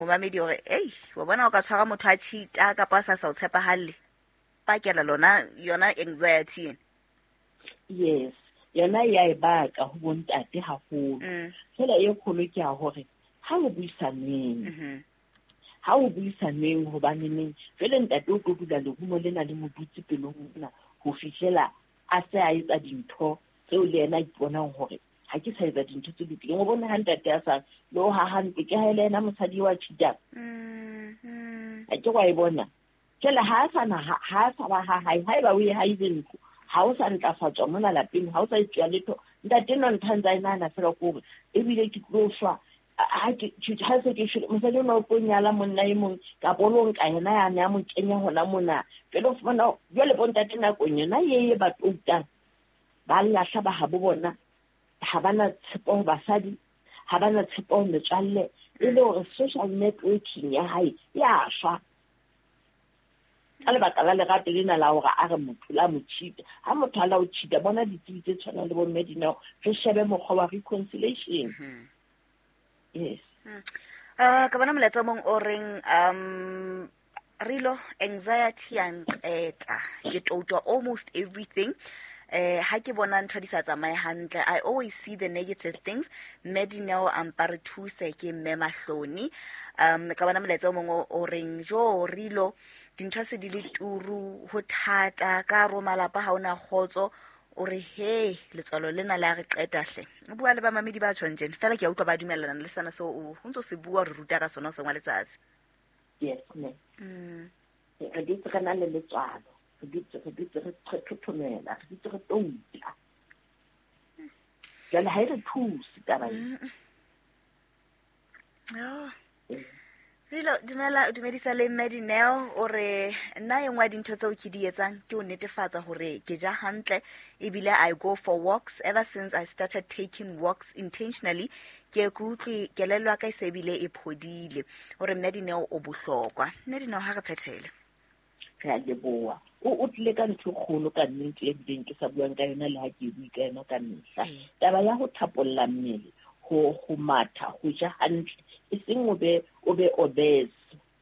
Momamedi hore ei, wa bona o ka tshwara motho a cheata kapa a sa o tshepahalle, pakela lona yona anxiety ena. Yes, yona ya e baka ho bontate haholo. Fela e kgolo ke ya hore ha o buisaneng. Ha o buisaneng hobaneneng jwale ntate o tlo dula lerumo lena le mo dutse pelong mona ho fihlela a se a etsa dintho tseo le yena a iponang hore ha ke sa etsa dintho tse lokileng. O bone ha ntate a sa le o haha ntlo, ke ha e le yena mosadi wa cheatang. Ha ke wa e bona. Jwale ha a sa na, ha a sa ba ha hae, haeba o e haile ntlo, ha o sa ntlafatswa mona lapeng, ha o sa etsuwa letho, ntate enwa ntho a ntse a e nahana fela ke hore ebile ke tlo shwa. Ha ke, ha se ke shwele, mosadi ona o tlo nyala monna e mong, kapa o lo nka yena ya ne a mo kenya hona mona. Jwale o fumana, jwale bontate nakong yona e ba toutang, ba lahla ba habo bona, ha ba na tshepo ho basadi, ha ba na tshepo ho metswalle, e le hore social networking ya hae ya shwa. Ka lebaka la lerato lena la hore a re motho la mo cheat-a. Ha motho a la o cheat-a, bona ditsebi tse tshwanang le bo mme Dineo, re shebe mokgwa wa reconciliation. Yes. Ka bona molaetsa o mong o reng, Rilo, anxiety ya nqeta. Ke toutwa almost everything. Ha ke bona ntho di sa tsamaye hantle, I always see the negative things. Mme Dineo a mpa re thuse, ke mme Mahloni. Ka bona molaetsa o mong o reng, jo Rilo, dintho se di le turu, ho thata, ka hare ho malapa ha ona kgotso. O re, he, letswalo lena le a re qeta hle. O bua le bamamedi ba tjhong tjena. Fela ke a utlwa ba dumellana le sena seo o ntso se bua, re ruta ka sona hoseng wa letsatsi. Yes, ma'am. Re dutse re na le letswalo, re dutse, re dutse re thothomela, re dutse re touta. Jwale ha e re thuse taba e. Oh. Rilo, dumela, dumedisa le mme Dineo. O re, nna e nngwe ya dintho tseo ke di etsang ke ho netefatsa hore ke ja hantle, ebile I go for walks. Ever since I started taking walks intentionally, ke ke utlwe kelello ya ka e se ebile e phodile. O re mme Dineo o bohlokwa. Mme Dineo, ha re phethele. Re a leboha. O tlile ka ntho e kgolo ka nnete e bileng ke sa buang ka yona le ha ke e bue ka yona ka mehla. Taba ya ho thapolla mmele, ho matha, ho ja hantle, e seng o be obese.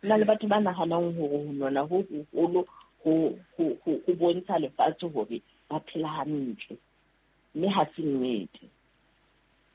Ho na le batho ba nahanang hore ho nona ho hoholo ho bontsha lefatshe hore ba phela hantle, mme ha se nnete.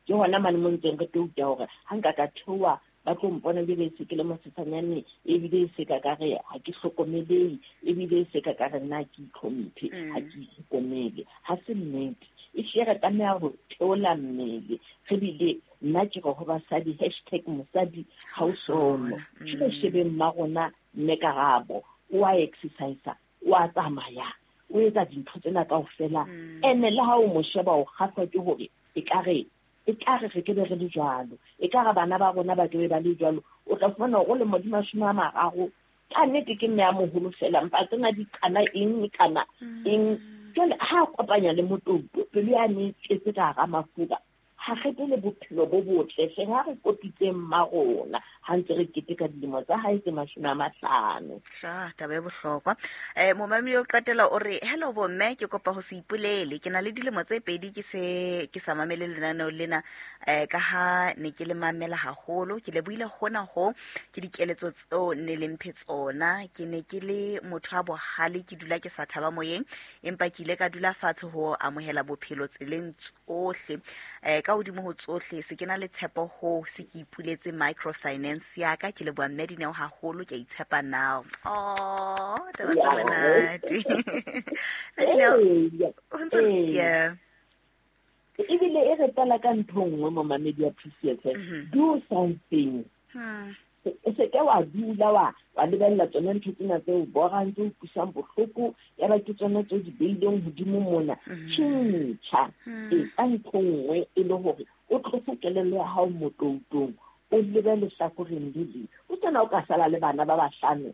Ke hona mane mo ntseng re touta hore ha nka ka theoha ba tlo mpona ebile e se ke le mosesanyane, ebile e se ka ka re ha ke hlokomelehe, ebile e se ka ka re nna ke itlhomphe, ha ke itlhokomele. Ha se nnete. Ehlile re tlameha ho theola mmele, re bile nna ke re ho basadi, hashtag mosadi ha o sono. Ke re shebeng mma rona mme Karabo, o a exercise, o a tsamaya, o etsa dintho tsena kaofela. Ene le ha o mo sheba o kgahlwa ke hore ekare re ke be re le jwalo, ekare bana ba rona ba ke be ba le jwalo. O tla fumana hore o lemo di mashome a mararo, ka nnete ke mme a moholo fela, empa tsena di kana eng, kana eng. Jwale ha a kopanya le motouto, pelo ya ne e tletse ka hara mafura, ha re be le bophelo bo botle hle, ha re kopitseng mma rona, ha ntse re keteka dilemo tsa hae tse mashome a mahlano. Sha, taba e bohlokwa. Momamedi o qetela o re, hello bomme, ke kopa ho se ipolele. Ke na le dilemo tse pedi ke se ke sa mamele lenaneo lena, ka ha ne ke le mamela haholo. Ke lebohile hona ho ke dikeletso tseo ne le mphe tsona. Ke ne ke le motho a bohale, ke dula ke sa thaba moyeng, empa ke ile ka dula fatshe ho amohela bophelo tseleng tsohle. Ka hodimo ho tsohle, se ke na le tshepo ho se ke ipuletse microfinance ya ka. Ke leboha mme Dineo haholo, ke a itshepa now. Oh, taba tse monate. Mme Dineo, ho ntse, yeah. Ebile e re qala ka ntho nngwe mo mamedi ya PCFM. Do something. O se ke wa dula wa lebella tsona ntho tsena tse o borang, tse o utlwisang bohloko, ya ba ke tsona tse o di beileng hodimo mona. Tjhentjha. Etsa ntho nngwe e le hore o tlose kelello ya hao motoutong, o lebe lehlakoreng le leng. O tsena o ka sala le bana ba bahlano.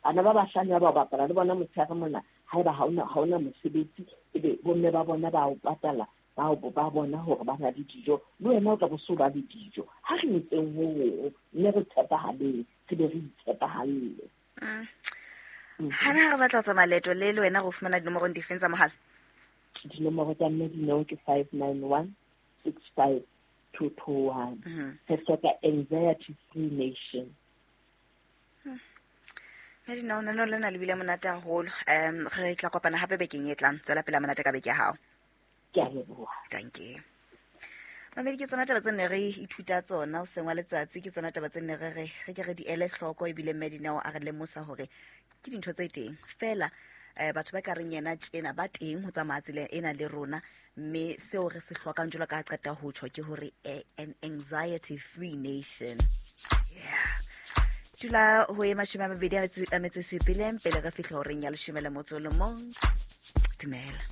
Bana ba bahlano ba bapala le bona motshehare mona, haeba ha ona mosebetsi, ebe bomme ba bona ba o patala, ba bona hore ba na le dijo, le wena o tla bo so ba le dijo. Ha re etseng ho hong, mme re tshepahaleng, re be re itshepahalle. Ha na re batla ho tsamaya leeto le le wena re fumana dinomorong difeng tsa mohala? Dinomoro tsa mme Dineo ke 591 65. 2 2 1. Re hloka anxiety free nation. Medina, o nano lena le bile monate haholo. Re tla kopana hape bekeng e tlang. Tswela pele monate ka beke ya hao. Ke a leboha. Thank you. Mamedi, ke tsona taba tse ne re ithuta tsona o seng wa letsatsi, ke tsona taba tse ne re re re ke re di ele hloko, ebile Medinao a re lemosa hore ke dintho tse teng fela. Batho ba ka reng yena tjena ba teng ho tsamaya tsela ena le rona, mme seo re se hlokang jwalo ka ha qeta ho tjho ke hore an anxiety free nation. Yeah, dula ho e 28 a metso e supileng pele re fihla horeng ya 11. Dumela.